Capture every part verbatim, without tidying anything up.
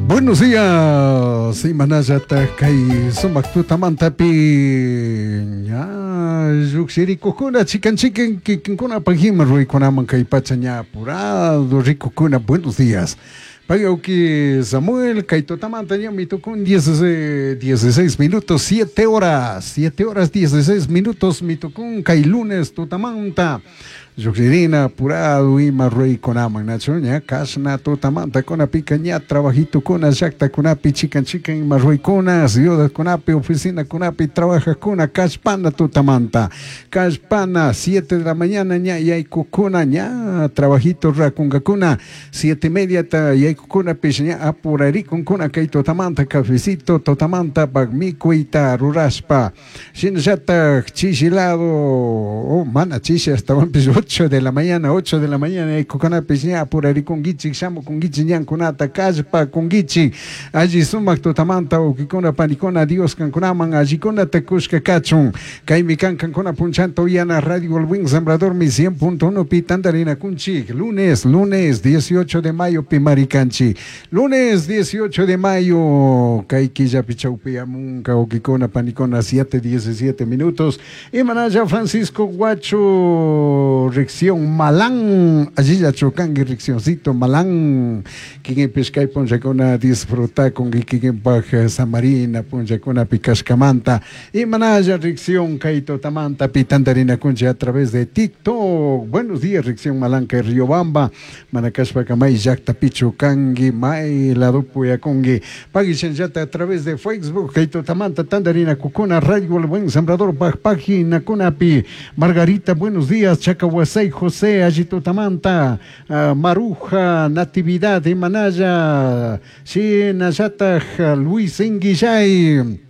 Buenos días, imanallata kay sumak tutamantapi ña lluqshirikukuna chikan chikan kikinkuna pajima ruykunaman kay pacha ña apurado rikukuna. Buenos días. Pagauki Samuel, kay tutamanta ña mitukun dieciséis minutos, siete horas, siete horas dieciséis minutos mitukun kay lunes tutamanta. Lluqshirina apurado ima ruykunaman nachu ña kashna tutamanta kunapika ña trabajitukuna llaqtakunapi chikan chikan ima ruykuna ciudadkunapi oficinakunapi trabajajkuna kallpana tutamanta kallpana siete de la mañana ña yaykukuna ña trabajito rakunkakuna siete y media ta yaykukunapish ña apurarikunkuna kay tutamanta cafecito tutamanta mikuyta rurashpa shinallatak chishilado oh, mana chishi astawanpish ocho de la mañana, ocho de la mañana yaykukunapish ña apurarikunkichik shamukunkichik ñankunata kallpakunkichik alli sumak tutamanta wawkikuna panikuna Dios kankunaman allikunata kushka kachun kaymi kan kankuna punchanta uyana Radio El Buen Sembrador mi cien punto uno pi tantarinakunchik lunes, lunes dieciocho de mayo pi marikanchik lunes dieciocho de mayo kay killapi chawpiyamunka wawkikuna panikuna siete diecisiete minutos imanalla Francisco Guacho Ricción Malán, allí ya chocangi Riccioncito Malán, kikinpish kay punllakuna disfruta con kikinpaj Samarina punllakuna pikashkamanta imanalla Ricción kay tutamanta pitantarinakunchik a través de TikTok. Buenos días Ricción Malán kay Riobamba, manakashpaka may llaqtapichu kanki may ladopuyakunki pagishanllata a través de Facebook kay tutamanta tantarinakukuna Radio El Buen Sembrador paj paginakunapi. Margarita, buenos días, Chacahuasay José, allí tutamanta, uh, Maruja, Natividad, Imanaya, Shinayata, Luis Inguillay.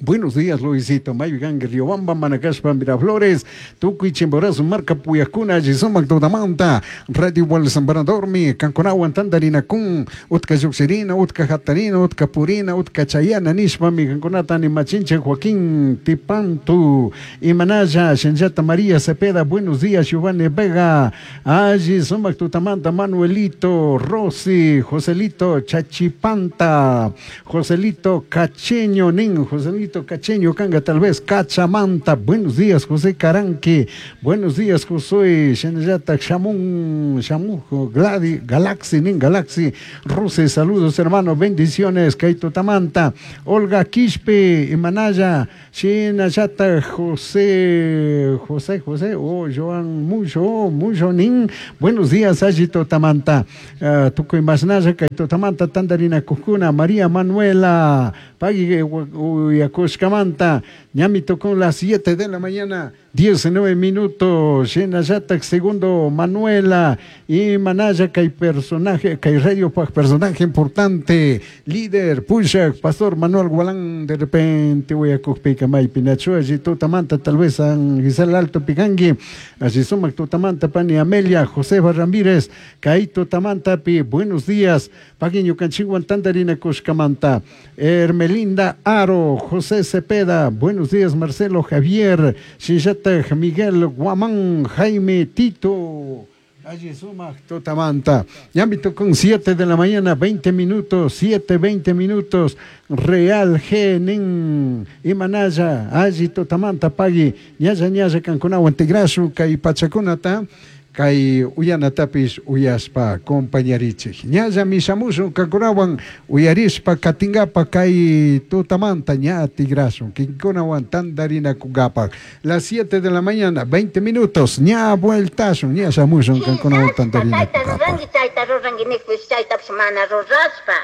Buenos días, Luisito. Mayo Gangue, Riobamba, Manacashpa, Miraflores, Tucuy, Chimborazo, Marca, Puyacuna, Yisomac, Tutamanta, Radio El Sembrador, mi Canconagua, Tandarina, Kun, Utka Yuxirina, Utka Jatarina, Utka Purina, Utka Chayana, Nishpa, mi Canconata, ni Machinche, Joaquín, Tipantu, Imanaya, Shenyata, María Cepeda, buenos días, Giovanni Vega, Allí, Sumac, Tutamanta, Manuelito, Rosy, Joselito, Chachipanta, Joselito, Cacheño, Nin, Joselito, Cacheño, Canga, tal vez, Cachamanta, buenos días, José Caranqui, buenos días, Josué, Shenayata, Shamun, Shamujo, Gladi, Galaxy, Nin Galaxy, Rose, saludos, hermano, bendiciones, Kaito Tamanta, Olga Quispe, Imanaya, Shenayata, José, José, José, oh, Joan, mucho, mucho, Nin, buenos días, Ayito Tamanta, uh, Tucuy Masnaya, Kaito Tamanta, Tandarina Cujuna, María Manuela, Pagui, Uyacushkamanta, ñami tocó las siete de la mañana, diecinueve minutos, Shenayata, segundo Manuela, y Manaya, que hay personaje, que hay radio, personaje importante, líder, Pushak, Pastor Manuel Gualán, de repente voy a Cujpica, May, Pinacho, allí Tutamanta, tal vez San Gisela Alto Picangui, allí Sumac Tutamanta, Pani Amelia, José Ramírez, Caito Tamanta, Pi, buenos días, Paguiño Canchiguan, Tandarina Cushcamanta, Hermelinda Aro, José Cepeda, buenos días, Marcelo Javier, Shillata, Miguel Guamán, Jaime Tito, allí suma Tutamanta. Ya me tocó con siete de la mañana, veinte minutos, siete, veinte minutos, Real G, Nin, Imanaya, allí Tutamanta, Pagui, Ñaya, Ñaya, Canconagua, Antigrasu, Kay Pachacunata, kay uyanatapis uyaspa compañarichik. Ñalla mishamushun kankunawan uyarishpa katingapa kay tutamanta ña tigrasun kinkunawan tantarinakunkapak. Las siete de la mañana, veinte minutos, ña vueltasun, ña shamushun kankunawan tantarinakunkapak. Chayta ruranki niqpish chaytapish mana rurashpa.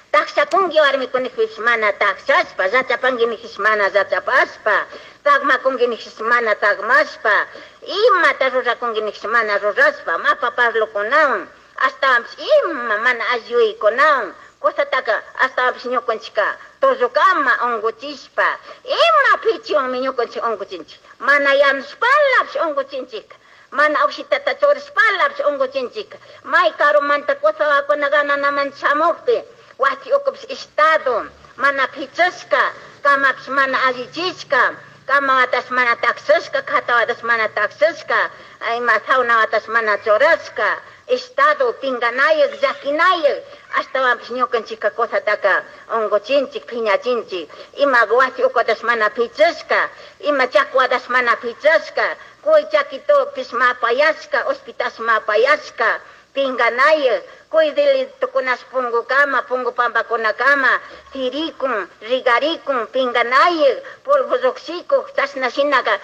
Takshakunki warmikunikpish mana takshashpa, llachapanki niqpish mana llachapashpa, tagmakunki niqpish mana tagmashpa, imata rurakunki niqpish mana rurashpa, mapa parlukunawan, ashtawanpish ima mana alliyuykunawan, kusataka ashtawanpish ñukanchikka tullukama unquchishpa, ima pichiwanmi ñukanchik unquchinchik, mana yanushpalapish unquchinchik. Mana ushitata churishpalapish unquchinchik, may karumanta kusawakuna gananaman shamuqpi, wasi ukupish estado, mana pichashka, kamapish mana allichishka, kamawatash mana taksashka, khatawatash mana taksashka, ima sawnawatash mana churashka, Estado pinganayaq llakinayaq ashtawanpish ñukanchikka kusataka unkuchinchik piñachinchik ima wasi ukutas mana pichashka ima chakuatas mana pichashka kuy chakitupish mapayashka ushpitash mapayashka pinganayaq kuy delitukunash punkukama punku pampakunakama sirikun rigarikun pinganayaq polvo lluqshikuk chashna shinaka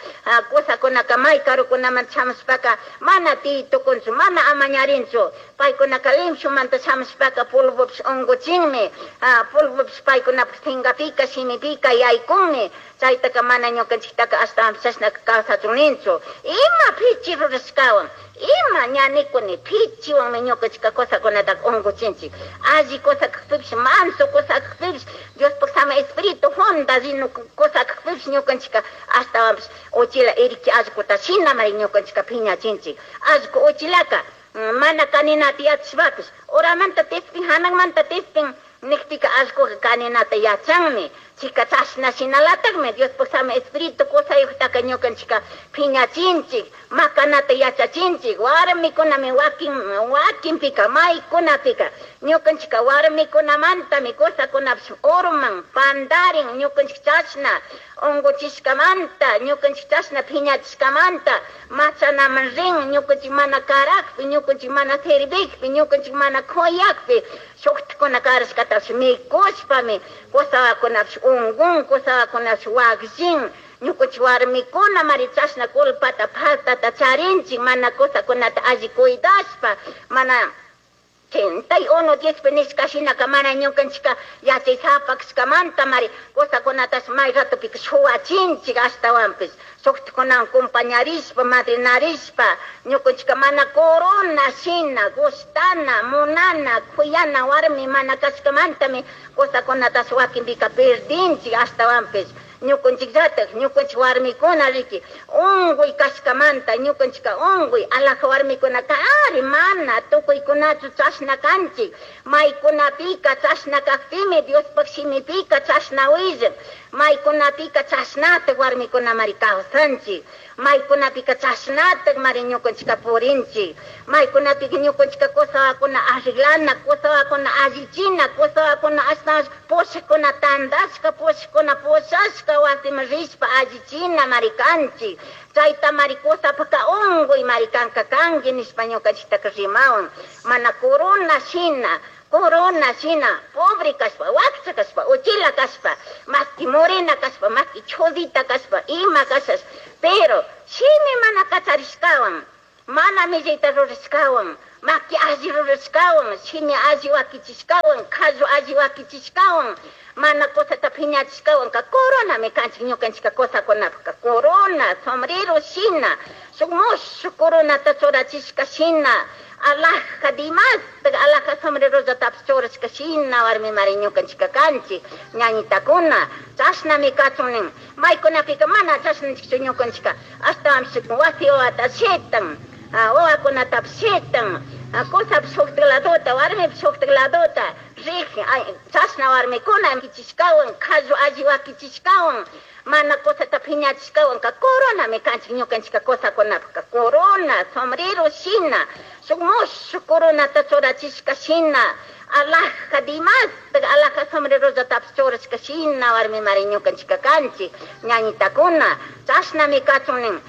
kusakunaka may karukunaman shamushpaka mana tiy tukunchu mana amañarinchu paykunaka limpiomanta shamushpaka polvopish unkuchinmi polvopish paykunapak sinkapika shimipika yaykunmi chaytaka mana ñukanchiktaka ashtawanpish chashnaka kawsachun ninchu ima pichi rurashkawan ima ña nikuni pichiwanmi ñukanchika kusakunataka unkuchinchik alli kusa kakpipish manso kusa kakpipish Diospuk sama espíritu junda rinu kusa kakpipish ñukanchika ashtawanpish uchila iriki allkuta shinamari ñukanchika piñachinchik allku uchilaka mana kaninata yachashpapish uramanta tispin hanakmanta tispin nikpika allkuka kaninata yachanmi chika chashna shinalatakmi Diospuk sama espíritu kusayuktaka ñukanchika piñachinchik makanata yachachinchik warmikunami wakin wakinpika maykunapika ñukanchika warmikunamantami kusakunapish urman pandarin ñukanchik chashna unkuchishkamanta ñukanchik chashna piñachishkamanta machanaman rin ñukanchik mana karakpi ñukanchik mana servikpi ñukanchik mana kuyakpi shuktikuna karashkatapish mikushpami kusawakunapish unkun kusawakunapish wakllin ñukanchik warmikuna mari chashna culpata faltata charinchik mana kusakunata alli cuidashpa mana ochenta y uno diezpi nishka shinaka mana ñukanchika yachaysapa kashkamanta mari kusakunatash may ratopika shuwachinchik ashtawanpish shuktakunawan compañarishpa madrinarishpa ñukanchika mana corona shina gustana munana kuyana warmi mana kashkamantami kusakunatash wakinpika perdinchik ashtawanpish ñukanchikllatak ñukanchik warmikuna riki unkuy kashkamanta ñukanchika unkuy alaja warmikunaka ari mana tukuykunachu chashna kanchik maykunapika chashna kakpimi Diospuk shimipika chashna willan maykunapika chashnatak warmikunamari kawsanchik maykunapika chashnatak mari ñukanchika purinchik maykunapika ñukanchika kusawakuna arreglana kusawakuna allichina kusawakuna ashtawan pushakuna tandashka pushakuna pushashka wasiman rishpa allichina mari kanchik chayta mari kusapaka unkuy mari kanka kanki nishpa ñukanchiktaka rimawan mana corona shina corona shina pobre kashpa wakcha kashpa uchila kashpa maski morena kashpa maski chodita kashpa ima kashash pero shimi mana kacharishkawan mana millayta rurashkawan maki alli rurashkawan shimi alli wakichishkawan qallu alli wakichishkawan mana kusata piñachishkawanka coronami kanchik ñukanchika kusakunapaka corona sombrero shina shuk mushuk coronata churachishka shina alhaja dimastik alhaja sombrerollatapis churashka shina warmimari ñukanchika kanchik ñañitakuna chashnami kachun nin maykunapika mana chashnachikchu ñukanchika ashtawanpish wasi wawata shitan wawakunatapish shitan kusapish shuktik ladota warmipish shuktik ladota rik chashna warmikuna kichishkawan qallu alli wakichishkawan mana kusata piñachishkawanka coronami kanchik ñukanchika kusakunapaka corona sombrero shina shuk mushuk coronata churachishka shina alhaja dimastik alhaja sombrerollatapis churashka shina warmimari ñukanchika kanchik ñañitakuna chashnami kachun nin.